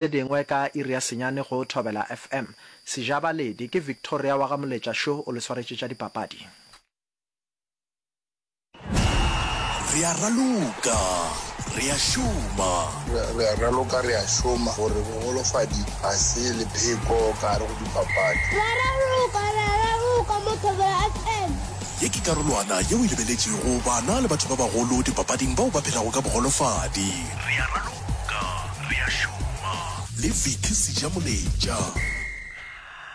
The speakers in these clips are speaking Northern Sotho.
Tše dingwe ka iri ya senyane go Thobela FM. Sejabaledi, ke Victoria wa ga Moletša šo o le swaretše tša dipapadi. Re a raloka, re a šoma. Re a raloka, re a šoma. Gore bogolofadi ga se lepheko ka gare go dipapadi. Re a raloka, re a raloka mo Thobela FM. Ye ke karolwana yeo e lebeletšego bana le batho ba bagolo dipapading bao ba phelago ka bogolofadi. Re a raloka, re a šoma. Le Vicky Sejamoletša.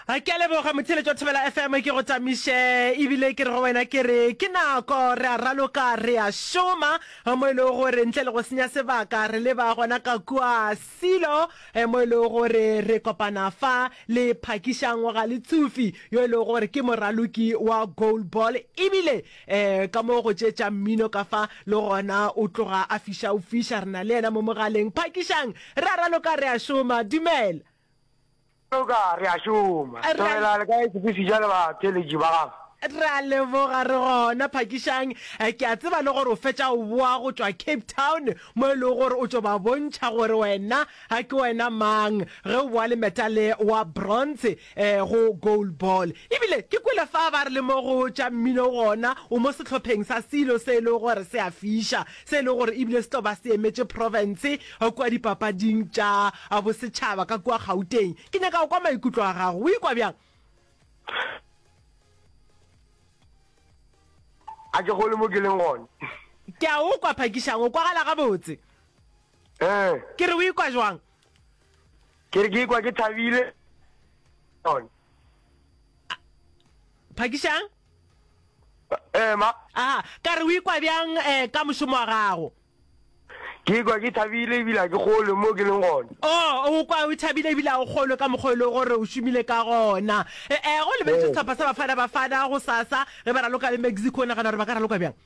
Ke a leboga motheeletši wa Thobela FM, ke go tamiše ebile ke re go wena ke re ke nako re a raloka re a šoma mo e lego gore ntle le go senya sebaka re leba gona ka kua Silo mo e lego gore re kopana fa le Phakišang Galetsufi yo e lego gore ke moraloki wa goalball ebile ka mo go tše tša mmino ka fa le gona o tloga a fiša o fiša. Re na le yena mo mogaleng. Phakišang, re a raloka re a šoma. Dumela. Raloka re a šoma. Thobela le kae Sefisija le batheeletši ba gago? Re a leboga re gona. Phakišang, ke a tseba le gore o fetša o boa go tšwa Cape Town mo e lego gore o tšo ba bontšha gore wena ke wena mang ge o boa le metale wa bronze go goal ball. Ebile ke kwele fa ba re le mo go tša mmino gona o mo sehlopheng sa selo se e lego gore se a fiša, se e lego gore ebile se tlo ba se emetše profense kua dipapading tša bosetšhaba ka kua Gauteng. Ke nyaka go kwa maikutlo a gago. O ikwa bjang? A ke gole mo ke leng gona. Ke a o kwa, Phakišang. O kwagala gabotse. Ee. Ke re o ikwa jwang? Ke re ke ikwa ke thabile. Gona. Phakišang? Ee, ma. Aha, ka re o ikwa bjang eh, ka mošomo wa gago? Ke ikwa ke thabile ebile ga ke kgolwe mo ke leng gona. Oh, o kwa o thabile ebile ga o kgolwe ka mokgwa e lego gore o šomile ka gona. E, e, go lebeletše sehlopha sa Bafana Bafana gosasa ge ba raloka le Mexico, o nagana gore ba ka raloka bjang?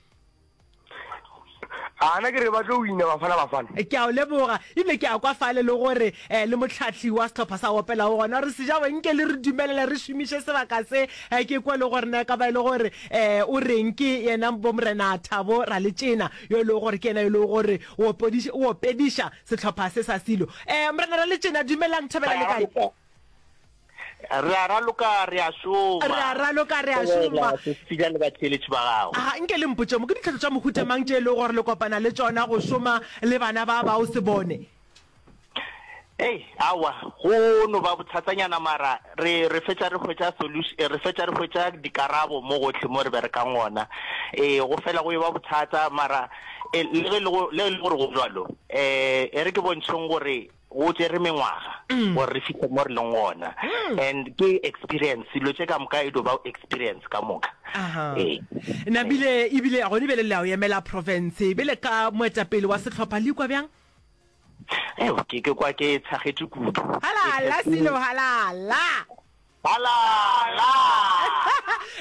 A na ke re ba tlo wina Bafana Bafana. Ke a o leboga. Ebile ke a kwa fale le gore eh, le mohlahli wa sehlopha sa opelago gona gore Sejawe nke le re dumelele re šomiše sebaka se. Eh, ke kwa le gore na e ka ba e le gore eh, o reng ke yena bomorena Thabo Raletšena yo e lego gore ke yena yo e lego gore o opediša, o opediša sehlopha se sa Silo. Eh, Morena Raletšena, dumelang, thobela le kae? Re a raloka, re a šoma. Re a raloka, re a šoma. Sesila le batheeletši ba gago. Aga, nke le mpotše mo, ke ditlhotlo tša mohuta mang tše e lego gore le kopana le tšona go šoma le bana ba bao se bone? Ei, aowa, go no ba bothatanyana mara re, re fetša re hwetša solution, re fetša re hwetša dikarabo mo gohle mo re berekang gona. Ee, go fela go eba bothata mara e, le ge le go, le ge e le gore go bjalo, eh, e re ke bontšheng gore go tšere mengwaga gore re fihle mo re leng gona. And ke experience, dilo tše ka moka e dio ba experience ka moka. Aha. Ee. Nabile, ebile gone bjale le ya go emela profense, bjale ka moetapele wa sehlopha le ikwa bjang? Eo, ke, ke kwa ke tshagetše kudu. Halala, Silo, halala! Halala!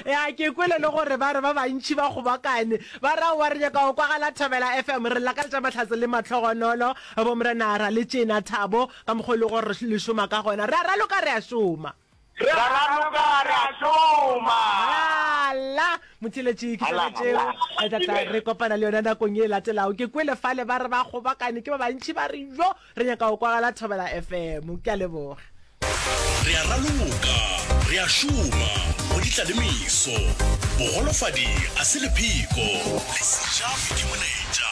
Ya, ke kwele le gore ba re ba bantši ba kgobokane, ba re aowa re nyaka go kwagala Thobela FM. Re lakaletša mahlatse le mahlogonolo, bomorena Raletšena, Thabo, ka mokgwa o e lego gore le šoma ka gona. Re a raloka, re a šoma. Re a raloka, re a šoma. Halala! Motheeletši, ke tšona tšeo re tla tla re kopana le yona nakong ye e latelago. Ke kwele fale ba re ba kgobokane ke ba bantši ba re jo re nyaka go kwagala Thobela FM. Ke a leboga. Re a raloka, re a šoma, go di tla le meso. Bogolofadi a se lepheko, le sejabi ke molaetša.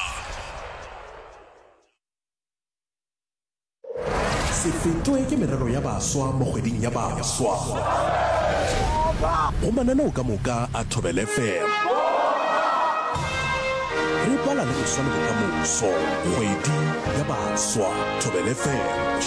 Se fetwe ke merero ya baswa mo kgweding ya baswa. Go mananeo ka moka a Thobela FM. Re bala le boswa le bokamoso. Kgwedi ya baswa. Thobela FM.